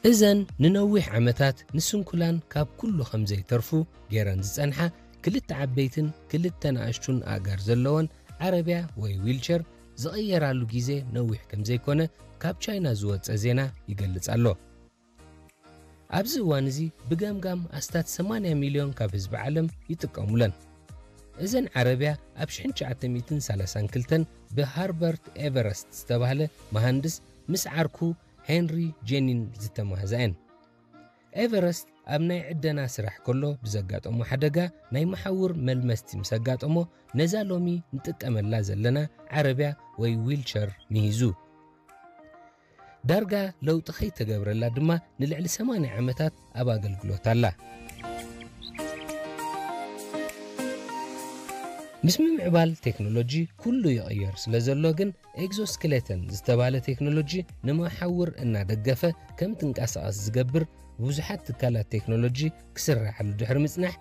እዘን ንነዊሕ ዓመታት ንስንኩላን ካብ ኩሉ ከም ዘይተርፉ ገይረን ዝጸንሓ ክልተ ዓበይትን ክልተ ንኣሽቱን ኣእጋር ዘለወን ዓረብያ ወይ ዊልቸር ዝቕየራሉ ግዜ ነዊሕ ከም ዘይኮነ ካብ ቻይና ዝወጸ ዜና ይገልጽ ኣሎ። ኣብዚ እዋን እዚ ብገምጋም ኣስታት ሰማንያ ሚልዮን ካብ ህዝቢ ዓለም ይጥቀሙለን። እዘን ዓረብያ ኣብ ሽሕን ትሽዓተ ሚእትን ሰላሳን ክልተን ብሃርበርት ኤቨረስት ዝተባህለ መሃንድስ ምስ ዓርኩ ሄንሪ ጄኒን ዝተማህዛ እየን። ኤቨረስት ኣብ ናይ ዕደና ስራሕ ከሎ ብዘጋጠሞ ሓደጋ ናይ መሓውር መልመስቲ ምስ ኣጋጠሞ ነዛ ሎሚ ንጥቀመላ ዘለና ዓረብያ ወይ ዊልቸር ምሂዙ። ዳርጋ ለውጢ ከይተገብረላ ድማ ንልዕሊ ሰማንያ ዓመታት ኣብ ኣገልግሎት ኣላ። ምስ ምምዕባል ቴክኖሎጂ ኩሉ ይቕየር ስለ ዘሎ ግን ኤግዞስክሌተን ዝተባህለ ቴክኖሎጂ ንመሓውር እናደገፈ ከም ትንቀሳቐስ ዝገብር ብዙሓት ትካላት ቴክኖሎጂ ክስራሓሉ ድሕሪ ምጽናሕ